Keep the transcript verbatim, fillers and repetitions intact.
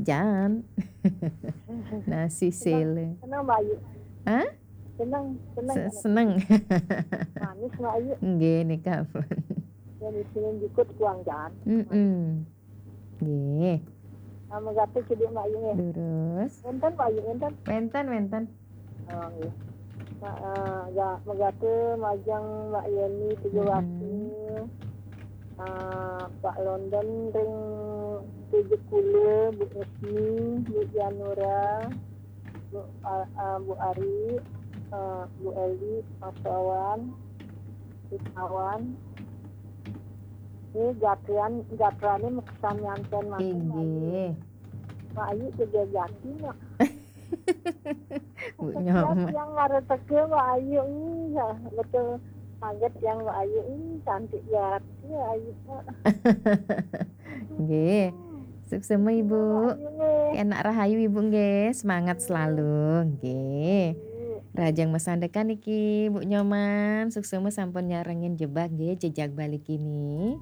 Jan. Nasi sele. Senang Mbak Ayu. Hah? Senang, senang. Se- Seneng. Manis Mbak Ayu. Nggih nika pun. Yang di sini jukut kuang jan. Mm-mm. Nggih. Nama gata cedek Mbak Ayu nih. Terus. Enten Mbak Ayu, enten. Wenten, wenten. Oh, nggih. Ma, uh, ga, megata majang Mbak Yeni tiga waktu. Uh, Pak London ring tujuh puluh, Bu Esmi, Bu Janura, Bu, uh, uh, Bu Ari, uh, Bu Eli, Mas Wawan, Bu Sawan. Ini gatrian, gatriannya mekesan nyanten makin. Inggih. Mbak Ayu juga gati nak. Bu Nyoman. Yang ada teke Mbak Ayu ini, ya, betul. Kaget yang Mbak Ayu ini cantik gati Mbak Ayu. Nggih. Suksema Ibu. Ayu nih. Enak rahayu Ibu nggih, semangat selalu nggih. Ayu. Rajang masandekan iki Bu Nyoman, suksema sampun nyarengin jebak nggih, jejak balik ini.